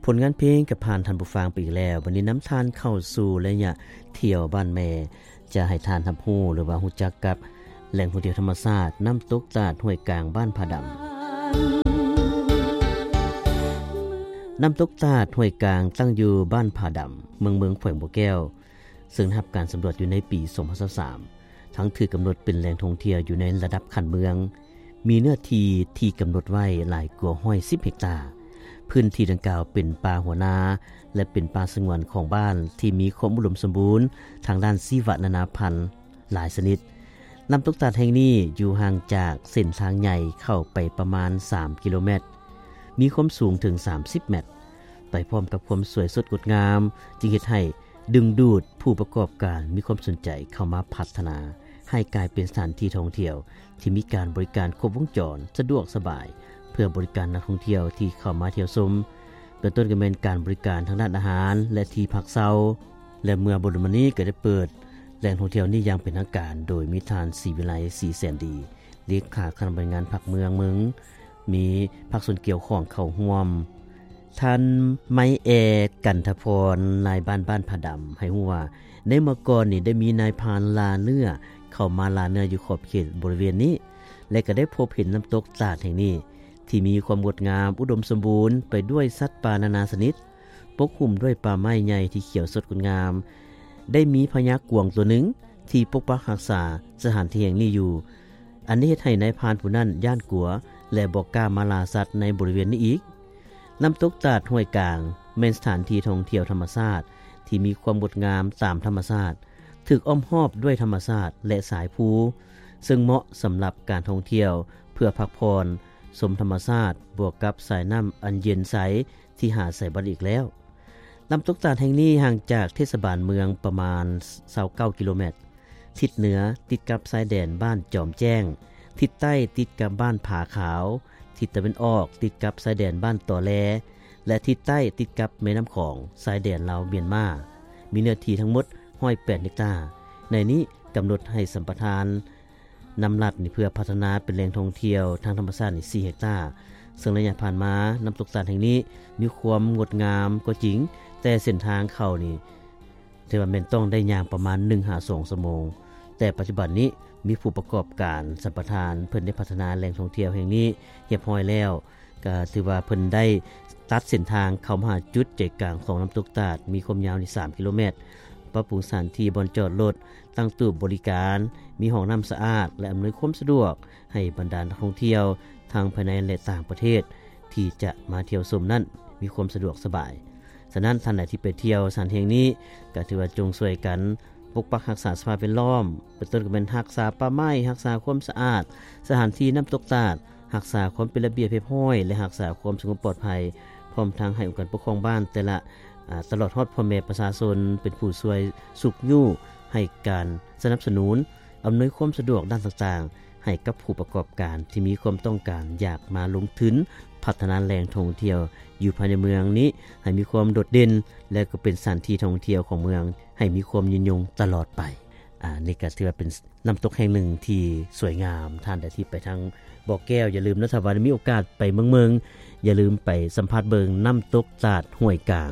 ຜົນງານເພງກໍຜ່ານທ່ານຜູ້ຟັງໄປອີກແລ້ວ. ບັດນີ້ນຳທ່ານເຂົ້າສູ່ໄລຍະທ່ຽວບ້ານແມ່ ຈະໃຫ້ທ່ານຮັບຮູ້ ຫຼືວ່າຮູ້ຈັກກັບແຫຼ່ງທ່ອງທ່ຽວທຳມະຊາດ ນ້ຳຕົກຕາດຫ້ວຍກາງ ບ້ານຜາດຳ. ນ້ຳຕົກຕາດຫ້ວຍກາງ ຕັ້ງຢູ່ບ້ານຜາດຳ ເມືອງເມືອງ ແຂວງບໍ່ແກ້ວ ເຊິ່ງໄດ້ຮັບການສຳຫຼວດຢູ່ໃນປີສອງພັນຊາວສາມ ທັງຖືກກຳນົດເປັນແຫຼ່ງທ່ອງທ່ຽວຢູ່ໃນລະດັບຂັ້ນເມືອງ, ມີເນື້ອທີ່ທີ່ກຳນົດໄວ້ຫຼາຍກວ່າຮ້ອຍສິບເຮັກຕາ. ພື້ນທີ່ດັ່ງກ່າວເປັນປ່າຫົວນາ ແລະ ເປັນປ່າສະຫງວນຂອງບ້ານທີ່ມີຄວາມອຸດົມສົມບູນທາງດ້ານຊີວະນານາພັນຫຼາຍຊະນິດ. ນ້ຳຕົກຕາດແຫ່ງນີ້ຢູ່ຫ່າງຈາກເສັ້ນທາງໃຫຍ່ເຂົ້າໄປປະມານສາມກິໂລແມັດ, ມີຄວາມສູງເຖິງສາມສິບແມັດ. ໄປພ້ອມກັບຄວາມສວຍສົດງົດງາມ ຈຶ່ງເຮັດໃຫ້ດຶງດູດຜູ້ປະກອບການມີຄວາມສົນໃຈເຂົ້າມາພັດທະນາໃຫ້ກາຍເປັນສະຖານທີ່ທ່ອງທ່ຽວທີ່ມີການບໍລິການຄົບວົງຈອນ, ສະດວກສະບາຍ ເພື່ອບໍລິການນັກທ່ອງທ່ຽວທີ່ເຂົ້າມາທ່ຽວຊົມ, ເປັນຕົ້ນກໍແມ່ນການບໍລິການທາງດ້ານອາຫານ ແລະ ທີ່ພັກເຊົາ. ແລະ ເມື່ອບໍ່ດົນມານີ້ກໍໄດ້ເປີດແຫຼ່ງທ່ອງທ່ຽວນີ້ຢ່າງເປັນທາງການ ໂດຍມີທ່ານ ສີວິໄລ ສີແສນດີ ເລຂາຄະນະບໍລິຫານພັກເມືອງເມືອງ ມີພາກສ່ວນກ່ຽວຂ້ອງເຂົ້າຮ່ວມ. ທ່ານ ໄມແອ ກັນທະພອນ ນາຍບ້ານບ້ານຜາດຳ ໃຫ້ຮູ້ວ່າ ໃນເມື່ອກ່ອນນີ້ໄດ້ມີນາຍພານລ່າເນື້ອເຂົ້າມາລ່າເນື້ອຢູ່ຂອບເຂດບໍລິເວນນີ້ ແລະ ກໍໄດ້ພົບເຫັນນ້ຳຕົກຕາດແຫ່ງນີ້ ທີ່ມີຄວາມງົດງາມ ອຸດົມສົມບູນໄປດ້ວຍສັດປ່ານານາຊະນິດ, ປົກຫຸ້ມດ້ວຍປ່າໄມ້ໃຫຍ່ທີ່ຂຽວສົດງົດງາມ. ໄດ້ມີພະຍາກວາງຕົວໜຶ່ງທີ່ປົກປັກຮັກສາສະຖານທີ່ແຫ່ງນີ້ຢູ່. ອັນນີ້ເຮັດໃຫ້ນາຍພານຜູ້ນັ້ນຢ້ານກົວ ແລະ ບໍ່ກ້າມາລ່າສັດໃນບໍລິເວນນີ້ອີກ. ນ້ຳຕົກຕາດຫ້ວຍກາງ ແມ່ນສະຖານທີ່ທ່ອງທ່ຽວທຳມະຊາດທີ່ມີຄວາມງົດງາມຕາມທຳມະຊາດ, ຖືກອ້ອມຮອບດ້ວຍທຳມະຊາດ ແລະ ສາຍພູ, ເຊິ່ງເໝາະສຳລັບການທ່ອງທ່ຽວເພື່ອພັກຜ່ອນ ຊົມທຳມະຊາດ ບວກກັບສາຍນ້ຳອັນເຢັນໃສທີ່ຫາໃສບໍ່ໄດ້ອີກແລ້ວ. ນ້ຳຕົກຕາດແຫ່ງນີ້ຫ່າງຈາກເທດສະບານເມືອງປະມານຊາວເກົ້າກິໂລແມັດ, ທິດເໜືອຕິດກັບຊາຍແດນບ້ານຈອມແຈ້ງ, ທິດໃຕ້ຕິດກັບບ້ານຜາຂາວ, ທິດຕາເວັນອອກຕິດກັບຊາຍແດນບ້ານຕໍແລ ແລະ ທິດໃຕ້ຕິດກັບແມ່ນ້ຳຂອງ ຊາຍແດນລາວມຽນມາ. ມີເນື້ອທີ່ທັງໝົດຮ້ອຍແປດເຮັກຕາ. ໃນນີ້ກຳນົດໃຫ້ສຳປະທານ ນຳລັດນີ້ເພື່ອພັດທະນາເປັນແຫຼ່ງທ່ອງທ່ຽວທາງທຳມະຊາດນີ້ສີ່ເຮັກຕາ, ເຊິ່ງໄລຍະຜ່ານມາ ນ້ຳຕົກຕາດແຫ່ງນີ້ມີຄວາມງົດງາມກໍຈິງ, ແຕ່ເສັ້ນທາງເຂົ້ານີ້ຖືວ່າແມ່ນຕ້ອງໄດ້ຍ່າງປະມານໜຶ່ງຫາສອງຊົ່ວໂມງ, ແຕ່ປັດຈຸບັນນີ້ມີຜູ້ປະກອບການສຳປະທານ ເພິ່ນໄດ້ພັດທະນາແຫຼ່ງທ່ອງທ່ຽວແຫ່ງນີ້ຮຽບຮ້ອຍແລ້ວ. ກໍຖືວ່າເພິ່ນໄດ້ຕັດເສັ້ນທາງເຂົ້າມາຫາຈຸດໃຈກາງຂອງນ້ຳຕົກຕາດ ມີຄວາມຍາວນີ້ສາມກິໂລແມັດ, ປັບປຸງສະຖານທີ່ບ່ອນຈອດລົດ, ຕັ້ງຕູ້ບໍລິການ, ມີຫ້ອງນ້ຳສະອາດ ແລະ ອຳນວຍຄວາມສະດວກໃຫ້ບັນດານັກທ່ອງທ່ຽວທັງພາຍໃນ ແລະ ຕ່າງປະເທດ ທີ່ຈະມາທ່ຽວຊົມນັ້ນມີຄວາມສະດວກສະບາຍ. ສະນັ້ນ ທ່ານໃດທີ່ໄປທ່ຽວສະຖານແຫ່ງນີ້ ກໍຖືວ່າຈົ່ງຊ່ວຍກັນປົກປັກຮັກສາສະພາບແວດລ້ອມ, ເປັນຕົ້ນກໍແມ່ນຮັກສາປ່າໄມ້, ຮັກສາຄວາມສະອາດ, ສະຖານທີ່ນ້ຳຕົກຕາດ, ຮັກສາຄວາມເປັນລະບຽບຮຽບຮ້ອຍ ແລະ ຮັກສາຄວາມສະຫງົບປອດໄພ, ພ້ອມທັງໃຫ້ອົງການປົກຄອງບ້ານແຕ່ລະ ອາ ຕະຫຼອດຮອດພໍ່ແມ່ປະຊາຊົນ ເປັນຜູ້ຊ່ວຍຊຸກຍູ້ໃຫ້ການສະໜັບສະໜູນ, ອຳນວຍຄວາມສະດວກດ້ານຕ່າງໆ ໃຫ້ກັບຜູ້ປະກອບການທີ່ມີຄວາມຕ້ອງການຢາກມາລົງທຶນພັດທະນາແຫຼ່ງທ່ອງທ່ຽວຢູ່ພາຍໃນເມືອງນີ້ ໃຫ້ມີຄວາມໂດດເດັ່ນ ແລະ ກໍເປັນສະຖານທີ່ທ່ອງທ່ຽວຂອງເມືອງ ໃຫ້ມີຄວາມຍືນຍົງຕະຫຼອດໄປ. ອາ ນີ້ກໍຖືວ່າເປັນ ນ້ຳຕົກແຫ່ງໜຶ່ງທີ່ສວຍງາມ. ທ່ານໃດທີ່ໄປທາງບໍ່ແກ້ວ ຢ່າລືມເນາະ, ຖ້າວ່າໄດ້ມີໂອກາດໄປເມືອງເມືອງ ຢ່າລືມໄປສຳຜັດເບິ່ງນ້ຳຕົກຕາດຫ້ວຍກາງ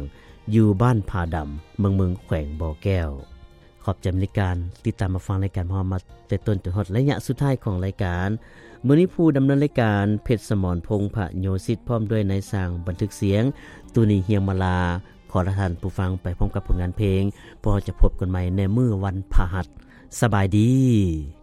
ຢູ່ບ້ານຜາດຳ ເມືອງເມືອງ ແຂວງບໍ່ແກ້ວ. ຂອບໃຈທີ່ຕິດຕາມຮັບຟັງລາຍການຂອງເຮົາມາແຕ່ຕົ້ນຈົນຮອດໄລຍະສຸດທ້າຍຂອງລາຍການ. ມື້ນີ້ຜູ້ດຳເນີນລາຍການ ເພັດສະໝອນ ພົງພະໂຍສິດ ພ້ອມດ້ວຍນາຍຊ່າງບັນທຶກສຽງ ຕູນີ ຮຽງມາລາ ຂໍລາທ່ານຜູ້ຟັງໄປພ້ອມກັບຜົນງານເພງ. ພວກເຮົາຈະພົບກັນໃໝ່ໃນມື້ວັນພະຫັດ. ສະບາຍດີ.